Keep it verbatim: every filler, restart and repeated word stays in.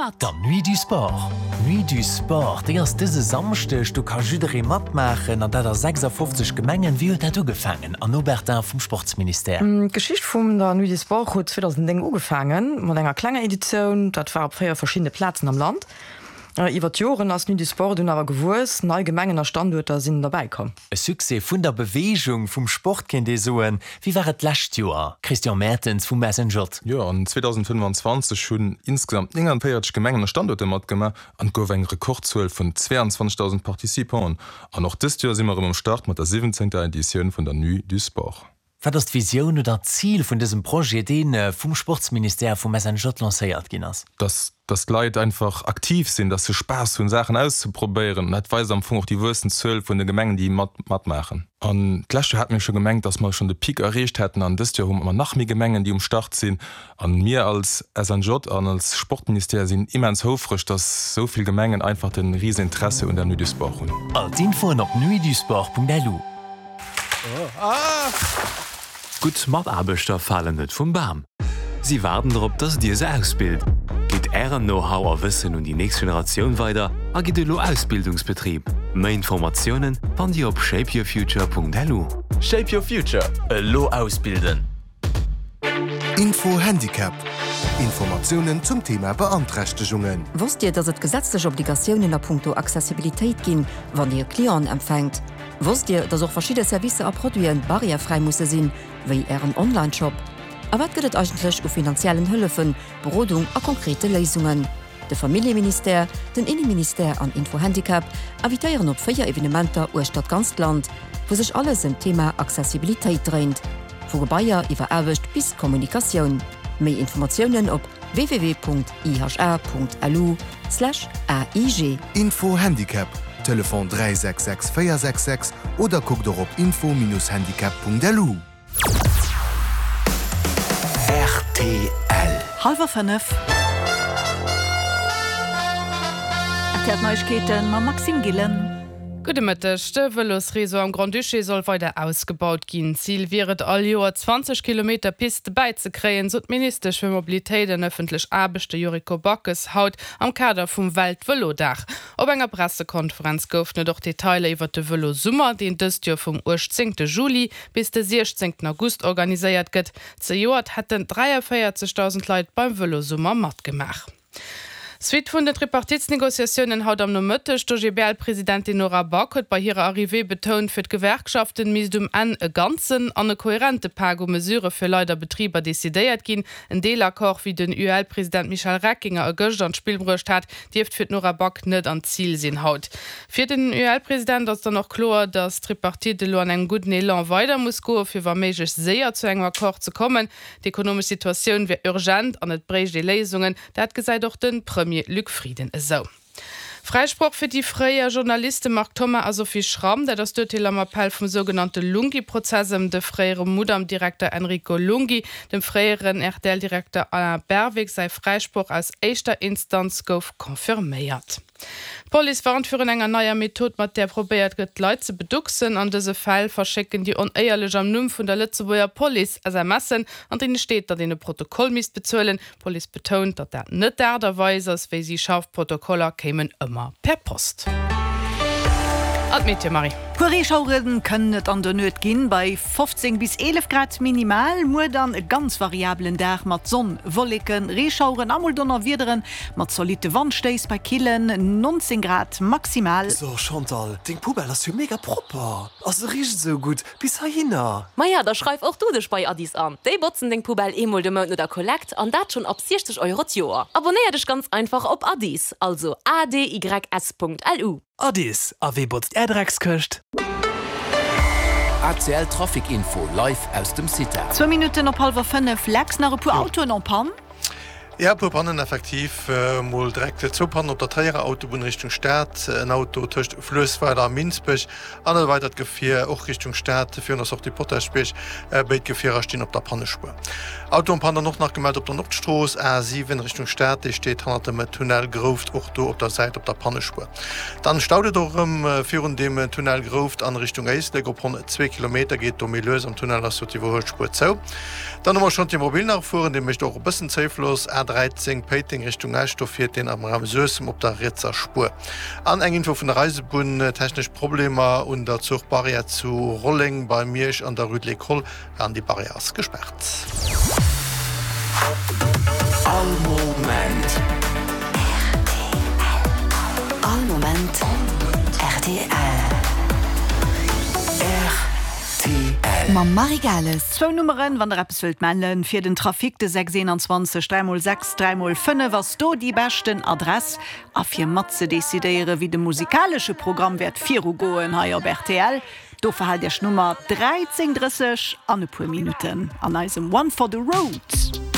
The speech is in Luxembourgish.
mat! Der Nuit du Sport. Nuit du Sport, déi ass dëse Samschdeg, do ka jidderee matmaachen an dat a sechsafofzeg Gemengen. Wéi huet dat ugefaangen, Anne Obertin vum Sportsministère? D'Geschicht vum der Nuit du Sport huet zweedausendzéng ugefaangen mat enger klenger Editioun, dat war op véier verschiddene Plazen am Land. Iwwer d'Joren ass d'Nuit du Sport dunn awer gewuess, nei Gemengen a Standuerter sinn derbäi komm. E Succès vun der Beweegung, vum Sport kéint ee soen. Wéi war et d'lescht Joer, Christian Mertens vum S N J? Jo, an zweedausendfënnfanzwanzeg hunn insgesamt nénganvéierzeg Gemengen a Standuerter matgemaach an et gouf eng Rekordzuel vun zweiundzwanzegdausend Participanten. An och dëst Joer si mer erëm um Start mat der siwwenzéngter Editioun vun der Nuit du Sport. Wat ass d'Visioun oder d'Zil vun dësem Projet, dee vum Sportsministère, vum S N J lancéiert ginn ass? Dass dass d'Leit einfach aktiv sinn, dass se Spaass hunn, Saachen auszeprobéieren. Dat weist am Fong och déi wuessend Zuel vun de Gemengen, déi mat matmaachen. An d'lescht Joer hate mir scho gemengt, dass mer schonn de Peak erreecht hätten an dëst Joer hu mer nach méi Gemengen, déi um Start sinn. An mir als S N J an als Sportministère sinn immens houfreg, dass sou vill Gemengen einfach de Riseninteresse un der Nuit du Sport hunn. All d'Infoen op nuitdusport Punkt L U. Gutt Mataarbechter falen net vum Bam. Si waarden drop, dass Dir se ausbilt. Gitt Ären Know-how a Wëssen un déi nächst Generatioun weider a gitt elo Ausbildungsbetrib. Méi Informatiounen fannt Dir op shapeyourfuture Punkt L U. Shape Your Future, elo ausbilden! Info Handicap, Informatiounen zum Thema Beanträchtegungen. Wosst Dir, dass et gesetzlech Obligatiounen a punkto Accessibilitéit ginn, wann Dir Clienten empfänkt? Wosst Dir, dass och verschidde Servicer a Produiten barrièrefräi musse sinn, wéi Ären Online-Shop? A wat gëtt et eigentlech u finanziellen Hëllefen, Berodung a konkrete Léisungen? De Familljeministère, den Inneministère an Info Handicap invitéieren op véier Evenementer uechter d'ganzt Land, wou sech alles ëm d'Thema Accessibilitéit dréint. Vu Gebaier iwwer Aarbecht bis Kommunikatioun. Méi Informatiounen op w w w Punkt I H A Punkt L U Slash A I G. Info Handicap, Telefon dräi sechs sechs véier sechs sechs oder kuckt och op info Minus handicap Punkt L U. R T L. Hallwer fënnef. R T L Neiegkeeten mam Maxime Gillen. Gudde Mëtteg. De Vëlosreseau am Grand-Duché soll weider ausgebaut ginn. Zil wier et all Joer zwanzeg Kilometer Piste bäizekréien, sot d'Ministesch fir Mobilitéit an ëffentlech Aarbechte Yuriko Backes haut am Kader vum Weltvëlodag. Op enger Pressekonferenz goufen et och Detailer iwwer de Vëlosummer, deen dëst Joer vum uechtzéngte Juli bis de siechzéngten August organiséiert gëtt. Zejoert hätten dräiavéierzegdausend Leit beim Vëlosummer matgemaach. Suite vun den Tripartitsnegociatiounen haut am Nomëtteg, D'O G B L-Presidentin Nora Back huet bei hirer Arrivée betount, fir d'Gewerkschaften misst um Enn e ganzen an e kohärente Pak u Mesurë fir Leit a Betriber decidéiert ginn. En Deelaccord, wéi den U E L-President Michel Reckinger e gëschter an d'Spill bruecht hat, dierft fir d'Nora Back net an d'Zil sinn haut. Fir den U E L-President ass dann och kloer, datt d'Tripartite elo an engem gudden Elan weider muss goen, fir wa méiglech séier zu engem Accord ze kommen. D'ekonomesch Situatioun wier urgent an et bréicht ee Léisungen. Dat gesäit och de Premier Luc Frieden esou. Fräisproch fir déi fréier Journaliste Marc Thoma a Sophie Schramm, dat ass d'Urteel am Appell vum sougenannte Lunghi-Prozess ëm de fréiere Mudam-Direkter Enrico Lunghi. Dem fréieren R T L-Direkter Alain Berwick säi Fräisproch aus éischter Instanz gouf confirméiert. D'Police warnt virun enger neier Method, mat där probéiert gëtt, d'Leit ze beducksen. An dëse Fäll verschécken déi Onéierlech am Numm vun der Lëtzebuerger Police S M Sen, an deene steet, datt een e Protokoll misst bezuelen. D'Police betount, datt dat net d'Aart a Weis ass, wéi si schafft. Protokoller kéimen ëmmer per Post. An d'Meteo, Marie. Puer Reeschauere kënnen et an der Nuet ginn, bei fofzéng bis eelef Grad minimal. Muer dann e ganz variabelen Dag mat Sonn, Wolleken, Reeschaueren a mol Donnerwiederen, mat zolitte Wandstéiss bei killen nonzéng Grad maximal. So Chantal, deng Poubelle ass jo mega propper. A se richt esou gutt bis heihinner. Maja, da schreif och du dech bei Addis an. Déi botzen deng Poubelle eemol de Mount no der Kollekt an dat schonn ab siechzeg Euro d'Joer. Abonéier dech ganz einfach op Addis, also A D Y S Punkt L U. Addis, a wee botzt är Dreckskëscht? A C L Trafic Info live aus dem CITA. Zwou Minutten op hallwer fënnef. Lex, nach e puer Autoen en panne? Ja, e puer Pannen effektiv. Mol direkt zwou Pannen op der Tréierer Autobunn Richtung Stad, en Auto tëscht Fluessweiler a Minsbech an e weidert Gefier och Richtung Stad virun der Sortie Potaschbierg. Béid Gefierer stinn op der Pannespuer. Auto en panne dann och nach gemellt op der Nordstrooss, A siwen Richtung Stad, dee steet hannert dem Tunnel Grouft och do op der Säit op der Pannespuer. Dann staut et och erëm virun dem Tunnel Grouft an Richtung Éislek op ronn zwee Kilometer, geet do méi lues, am Tunnel ass jo d'Iwwerhuelspuer zou. Dann hu mer Chantier Mobil nach fueren, dee mécht och e bëssen Zéifloss, A dräizéng Péiteng Richtung Esch, do fiert deen am Raum Suessem op der rietser Spuer. An eng Info vun der Eisebunn, Technesch Problemer un der Zuchbarrière zu Rolleng bei Miersch an der Rue de l'École an déi Barrière ass gespaart. All Moment rtl. All Moment rtl. Rtl. Mam Marie Gales. Zwou Nummeren, wann der eppes wëllt mellen fir den Trafic, de sechs eenanzwanzeg dräi mol sechs dräi mol fënnef ass do déi beschten Adress. A fir mat ze decidéieren, wéi de musikalesche Programm wäert virugoen hei op rtl, do verhaalt Iech d'Nummer dräizéng drësseg an e puer Minutten an eisem One for the Road.